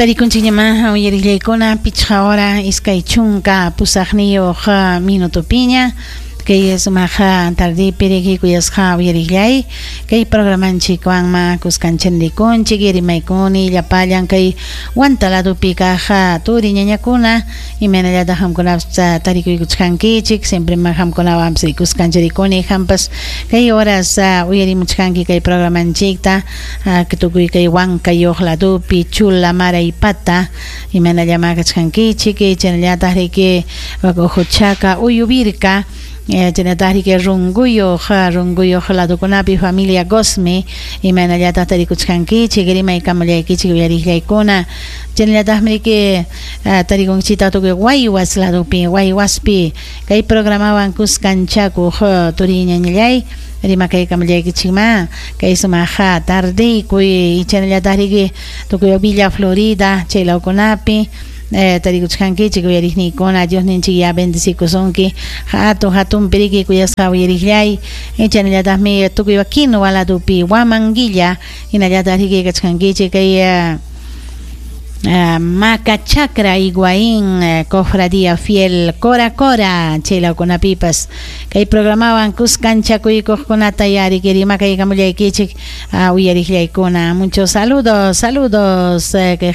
Tarikunchikñamá uyariqllaykuna 5 hora 28 minutopiña kay sumaq tardipi riki kuyasqa uyariqllay kay programanchikwanma kuskanchikrikunchik rimaykuni llapallan kay Huanta ladopi kaq turi ñañakuna imaynallataq qamkunapas tarikuykuchkankichik siempre ma qamkunawanpas kuskanchirikuni qampas kay horas uyarimuchkanki kay programanchikta tukuy kay Huancayoq ladopi Chula Maraypata imaynallama kachkankichik chaynallataq riki Ujuchaka Uyuvirka chaynallataq riki Runguyuq ladokunapi familia Gosme imaynallataq tarikuchkankichik rimaykamullaykichik uyariqllaykuna chaynallataqmi riki tarikunchikta tukuy Guaywas ladopi Guaywaspi kay programawan kuskanchakuq turi ñañallay rimakaykamullaykichikma kay sumaq tardeykuy chaynallataq riki tukuy Villa Florida chay lawkunapi tarikuchkankichik uyariqniykuna Diosninchik ya bendecikusunki hatun hatunpi riki kuyasqa uyariqllay chaynallataqmi tukuy Quinua ladopi Huamanguilla hinallataq riki kachkankichik kay Macachacra Higuaín Cofradía Fiel Cora Cora chay lawkunapipas kay programawan kuskanchakuykuqkunata ya riki rimakaykamullaykichik uyariqllaykuna muchos saludos saludos kay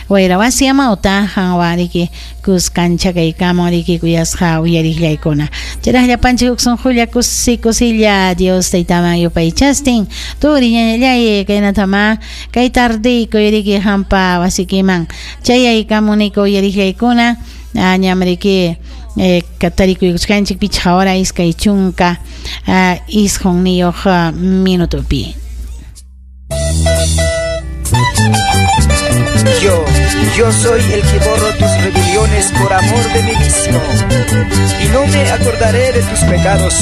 wayrawasi amawta qanwan riki kuskanchakaykamun riki kuyasqa uyariqllaykuna chayraq llapanchik huk sunqulla kusi kusilla Dios taytaman yupaychastin turi ñañallay kaynatama kay tardeykuy riki hampa wasikiman chayaykamuniku uyariqllaykuna ñam riki tarikuykuchkanchik 5 hora 29 minutopi. Yo soy el que borro tus rebeliones por amor de mí mismo, y no me acordaré de tus pecados.